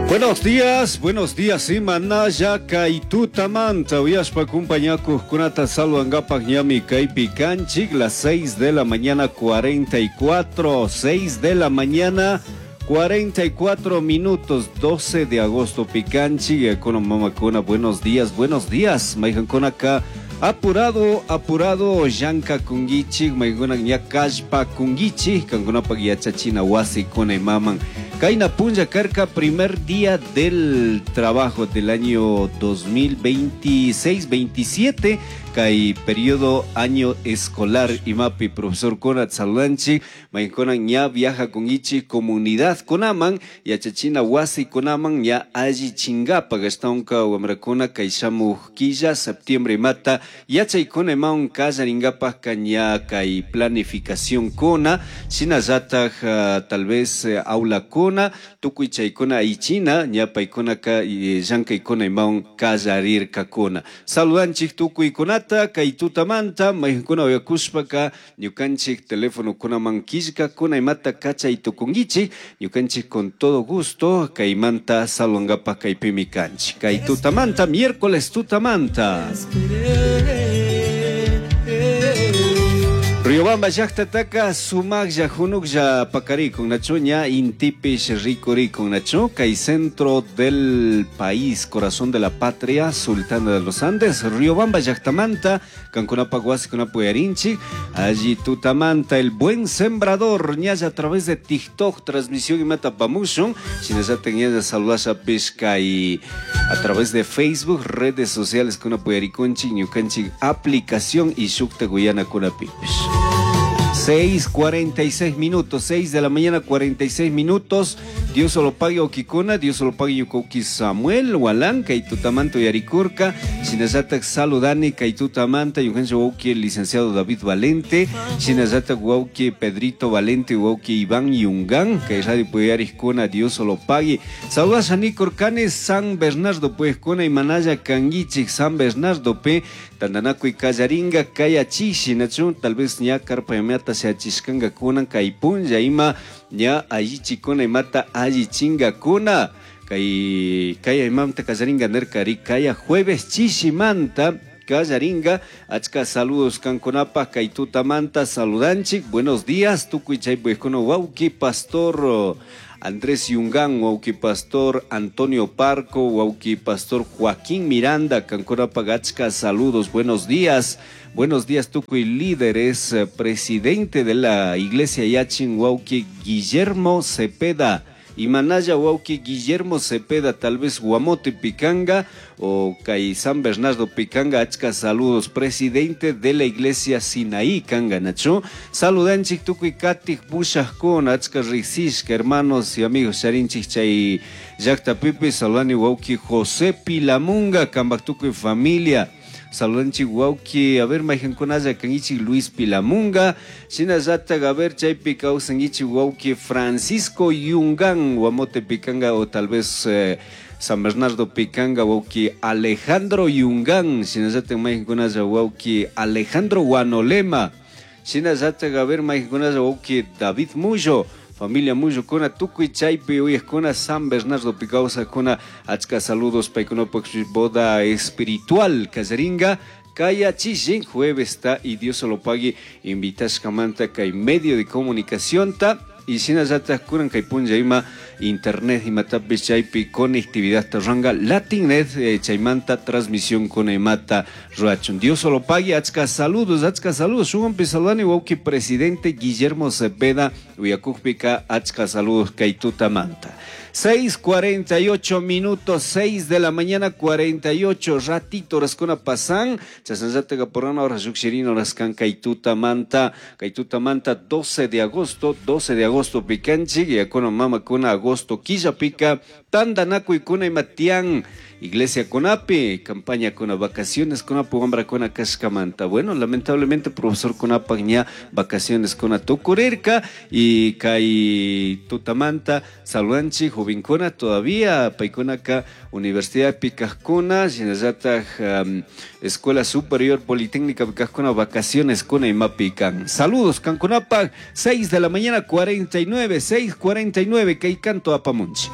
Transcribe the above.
Buenos días, imanalla kay tutamanta uyashpa kumpañakuqkunata saludangapak ñami kaypi kanchik las 6 de la mañana 44, 6 de la mañana 44 minutos, 12 de agosto pikanchik, kuna mamakuna, buenos días, buenos días, mayqankunaka apurado, apurado, llankakunkichik, maykuna ña kallpakunkichik, kankunapak yachachina wasikuna imaman. Kayna punlla karka primer día del trabajo del año 2026-27, kay periodo año escolar imapi profesor kuna saludanchik, maykuna ña viajakunkichik comunidad kunaman, yachachina wasi kunaman ña allichingapak ashtawanka wamrakuna kay shamuj killa septiembre imata yachaykuna imawan kallaringapakka ña kay planificación kuna, shinallataj tal vez aulakuna tukuy chaykuna aychina ña paykunaka llankaykuna imawan kallarirkakuna. Saludanchik tukuykunata kay tutamanta mayqankuna uyakushpaka ñukanchik telefonokunaman killkakuna imata kachay tukunkichik, ñukanchik con todo gusto kaymanta saludangapak kaypimi kanchik. Kay tutamanta, miércoles tutamanta. Riobamba llaqtataka sumaqlla hunuklla pakarikun nachu ña intipish rikurikun nachu kay centro del país, corazón de la patria, sultana de los Andes, Riobamba llaqtamanta kankunapak wasikunapi uyarinchik, allí tutamanta el buen sembrador ñalla a través de TikTok transmisión imata pamushun, shinallatak ñalla saludashapish kay a través de Facebook, redes sociales kunapi uyarikunchik, ñukanchik aplicación y shukta guyanakunapipish. 6:46 minutos, 6 de la mañana 46 minutos. Dios solo pague Okikuna, Dios solo pague Yukoki Samuel, Walán, Kaitutamanta Yaricurca, Shinallatak saludani, Kaitutamanta, Yujencho Wauki, el licenciado David Valente, Shinallatak Wauki Pedrito Valente, Wauki Iván Yungán, que Radio Puyariscuna, Dios solo pague. Saludas a Nicorcanes, San Bernardo, pues, Cuna y Manaya, Canguichik, San Bernardo, P, Tandanaco y Callaringa, Cayachishi, Nachun, tal vez ña carpa yamiata se achishkanga kunan kay punlla ima ña allichikuna imata allichingakuna kay kaya imamta kallaringa nerkari kaya jueves chishimanta kallaringa achka saludos kankunapaj kay tutamanta saludanchik buenos días tukuy chaypujkuna wawki pastor Andrés Yungán, wawki pastor Antonio Parco, wawki pastor Joaquín Miranda, kankunapaj achka saludos, buenos días. Buenos días, tukuy líderes, presidente de la iglesia Yachin, wawki Guillermo Cepeda. Y Manaya wawki Guillermo Cepeda, tal vez Guamote Picanga o kay San Bernardo Picanga, achka saludos, presidente de la iglesia Sinaí Kanga nachu. Saludanchik tukuy katik pushajkuna, achka riqsishka, hermanos y amigos, charinchik chay llaqtapipi, saludani wawki José Pilamunga, kambak tukuy familia. Saludanchik wawki, a ver, mayqankunalla kankichik Luis Pilamunga, shinallatak, a ver, chaypi kawsankichik wawki Francisco Yungán, Guamote Picanga o tal vez San Bernardo Picanga, wawki Alejandro Yungán, shinallatak mayqankunalla wawki Alejandro Guanolema, shinallatak, a ver, mayqankunalla wawki David Mullo, familia Mullo kuna tukuy chaypi uyajkuna San Bernardo Picawsakuna, achka saludos paykunapak boda espiritual kallaringa kaya chishin jueves ta y Dios lo pague invitashkamanta kay medio de comunicación ta y shinallatak kunan kay punlla ima internet imatapis chaypi conectividad tarranga Latinnet chaymanta transmisión kuna imata ruachun. Dios lo pague, achka saludos, shuwanpi saludani wawki presidente Guillermo Cepeda uyakukpika achka saludos kay tutamanta. 6:48 minutos, 6 de la mañana 48, ratito horas kuna pasan, chasnallataka porana horas llukshirin horas kan kay tutamanta, kay tutamanta 12 de agosto, 12 de agosto pikanchik, yakuna mamakuna agosto killapika, tandanakuy kuna imatian, iglesia kunapi, campaña kuna vacaciones kunapi, wambra kuna kashkamanta. Bueno, lamentablemente profesor kunapak ña vacaciones kuna tukurirka y kay tutamanta saludanchik jovenkuna todavía paykunaka Universidad Pikajkuna, shinallatak Escuela Superior Politécnica Pikajkuna vacaciones kuna imapikan. Saludos kankunapak, 6 de la mañana 49, 6:49, kay canto apamunchik.